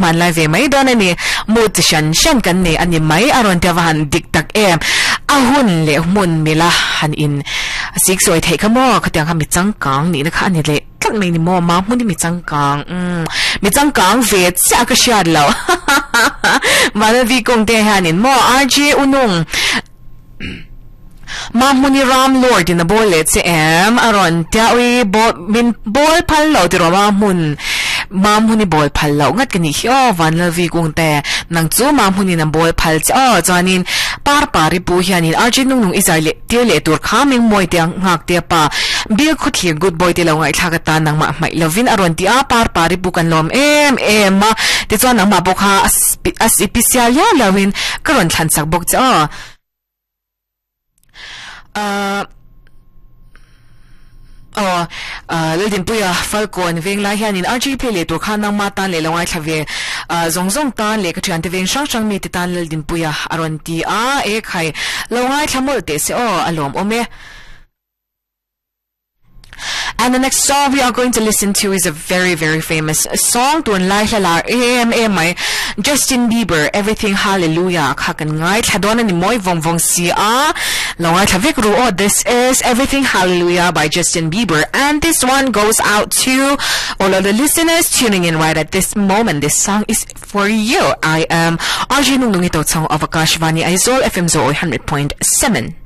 Hmanlai ve mai dawn a ni. Mood chi hran hran kan nei a ni mai a rawn tia va han dik tak em. A hun leh hmun mila han in sik sawi theih kha maw khatiang kha mi changkang nihna kha a ni leh tlat mai ni maw ma hmun hi mi changkang umm mi changkang ve chiah ka hriat lo Vanavi kawng te hianin maw RJ Unung Mahmuni Ram Lord in a bawl leh che em? A rawn tia ui bawl min bawl phal loh tiraw Mahmun Mahmuni bawl phal loh ngat ka nih hi aw Vanlalvi Kungte nang chu Mahmunin a bawl phal che aw chuanin Parpari pu hianin RJ Nungnung i zai leh tir leh tur kha Mengmawi te nghak te pa Bill Khawthlir good boy te lo ngaihthlak atan nangmah hmaih lovin a rawn ti a Parpari pu kan lawm em em a tichuan nangmah pawh kha a sipisial liau liauin ka rawn thlan chak bawk che aw. Ahh aw ahh Laldinpuia Falkawn veng lai hianin RG play leh tur khan nangma tan leh lo ngaithla ve ahh zawng zawng tan leh ka thiante veng hrang hrang mite tan Laldinpuia a rawn ti a e khai lo ngaithla mawlh teh se aw a lawmawm e. And the next song we are going to listen to is a very very famous song tun lai hla lar em em mai Justin Bieber Everything Hallelujah kha kan ngaithla dawn a ni mawi vawng vawng si a lo ngaithla vek ru aw this is Everything Hallelujah by Justin Bieber and this one goes out to all of the listeners tuning in right at this moment this song is for you I am RJ Nungnungi Tochhawng of Akashvani Aizawl FM Zo 100.7.